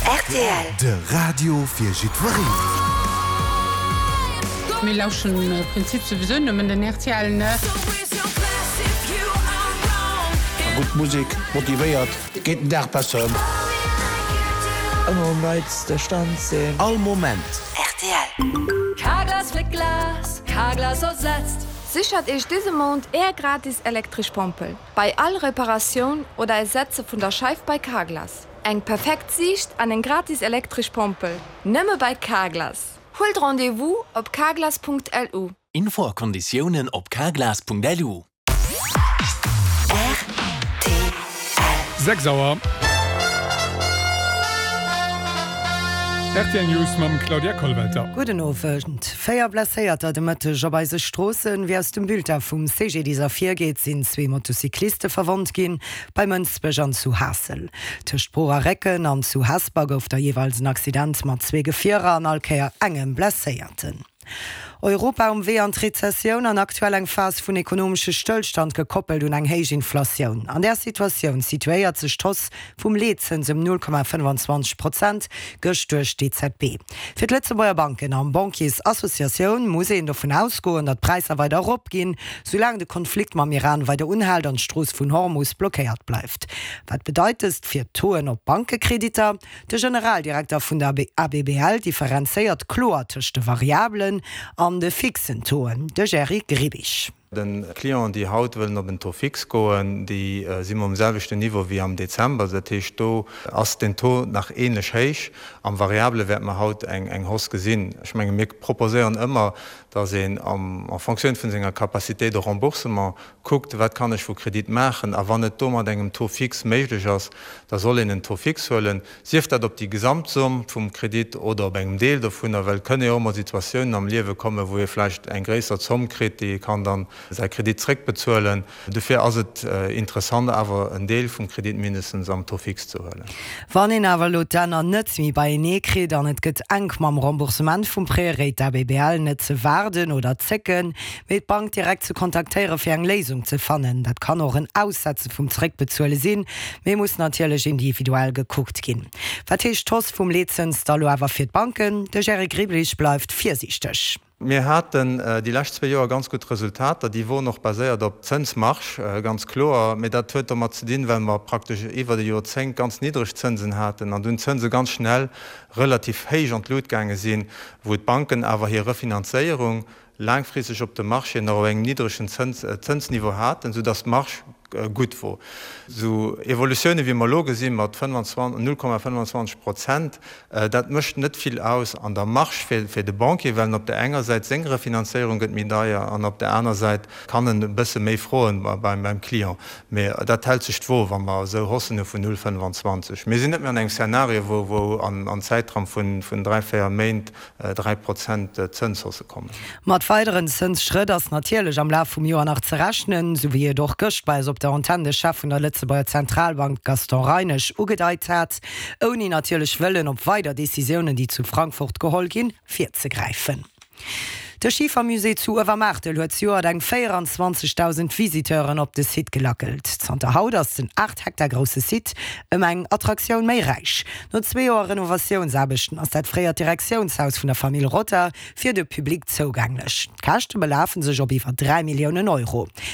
Rtl. De Radio fir jiddwereen. Mir lauschen am Prinzip souwisou nëmmen den rtl, ne? Gutt Musek motivéiert, geet den Dag besser ëm. Ëmmer um neitste Stand sinn. All Moment. Rtl. Carglass fléckt Glas, Carglass ersetzt. Sichert Iech dëse Mount Är gratis elektresch Pompel bei all Reparatioun oder Ersetze vun der Scheif bei Carglass. Eng perfekt Siicht an eng gratis elektresch Pompel, nëmme bei Carglass! Huelt Rendez-vous op carglass.lu. Info a Konditiounen op carglass.lu. Rtl. 6 Auer. Rtl News mam Claudia Kollwelter. Gudden Owend. 4 Blesséierter de Mëtteg op eise Stroossen. Wéi aus dem Bulletin vum CGDIS ervirgeet, sinn zwee Motocycliste verwonnt ginn, bei Mënsbech an zu Haassel. Tëscht Bruch a Récken an zu Hesper gouf da jeeweils en Accident mat zwee Gefierer an all Kéier engem Blesséierten. Europa um Wee an d'Rezessioun an aktuell eng Phas vun ekonomesche Stëllstand gekoppelt un eng héich Inflatioun. An där Situatioun situéiert sech d'Hausse vum Leetzëns ëm 0,25 Prozent gëscht duerch d'EZB. Fir d'Lëtzebuerger Banken an Banquiersassociatioun muss een dovun ausgoen, datt d'Präisser weider eropginn, soulaang de Konflikt mam Iran weider unhält an d'Strooss vun Hormus blockéiert bleift. Wat bedeit dëst fir d'Tauxen op Bankekreditter? De Generaldirekter vun der ABBL differenzéiert kloer tëscht de variabelen an de fixen Tauxen, de Jerry Grbic. De Clienten, déi haut wëllen op en Taux fixe goen, déi si mer um selwechten Niveau wéi am Dezember. Dat heescht, do ass den Taux nach änlech héich. Am Variabele wäerte mer haut eng Hausse gesinn. Ech menge mir proposéieren ëmmer, datt een en Fonctioun vun senger Capacité de remboursement kuckt, wat kann ech vu Kredit maachen, a wann et do mat engem Taux fixe méiglech ass, da soll een en Taux fixe huelen, sief dat op déi Gesamtsomm vum Kredit oder op engem Deel dovunner, well et kënne jo och emol Situatiounen am Liewe kommen, wou ee vläicht eng gréisser Zomm kritt, déi ee kann dann säi Kredit zréckbezuelen. Dofir ass et interessant awer en Deel vum Kredit mindestens am Taux fixe ze huelen. Wann een awer elo d'Enner net méi beienee kritt an et gëtt enk mam Remboursement vum Prêt, réit d'ABBL net ze waarden oder zécken, mee d'Bank direkt ze kontaktéiere fir eng Léisung ze fannen. Dat kann och en Aussetze vum Zeréckbezuele sinn, mee muss natierlech individuell gekuckt ginn. Wat heescht d'Hausse vum Leetzëns da lo awer fir d'Banken? De Jerry Griblich bleift virsiichteg. Mir haten déi lescht zwee Joer ganz gutt Resultater. Déi woren och baséiert op Zënsmarge, ganz kloer. Mee dat huet domat ze dinn, well mer praktesch iwwert e Joerzéngt ganz niddreg Zënsen haten an dunn d'Zënse ganz schnell relativ héich an d'Lut gaange sinn, wou d'Banken awer hir Refinanzéierung laangfristeg op de Marché nach op engem niddregen Zënsniveau haten, soudass d'Marge gutt wor. Esou Evolutiounen, wéi mer elo gesinn, mat 0,25 Prozent, dat mécht net vill aus an der Marge fir de Banquier, well en op der enger Säit seng Refinanzéierung gëtt méi deier an op der aner Säit kann en e bësse méi froen beim Client. Mee dat hält sech d'Wo, wa mer esou Haussen hu vun 0,25. Mir sinn net méi an engem Szenario, wou an Zäitraum vun dräi, véier Méint 3 Prozent Zënshausse kommen. Mat weideren Zënsschrëtt ass natierlech am Laf vum Joer nach ze rechnen, sou wéi et och gëscht bei eis op der Antenn de Chef vun der Lëtzebuerger Zentralbank Gaston Reinesch ugedeit hat, ouni natierlech wëllen op weider Decisiounen, déi zu Frankfurt geholl ginn, virzegräifen. De Schifermusée zu Uewermaartel huet zejoert eng 24.000 Visiteuren op de Site gelackelt. Zanter haut ass den 8 Hektar grousse Site ëm eng Attraktioun méi räich. No zwee Joer Renovatiounsaarbechten ass dat fréiert Direktiounshaus vun der Famill Rother fir de Public zougänglech. D'Käschte belafen sech op iwwer 3 Milliounen Euro.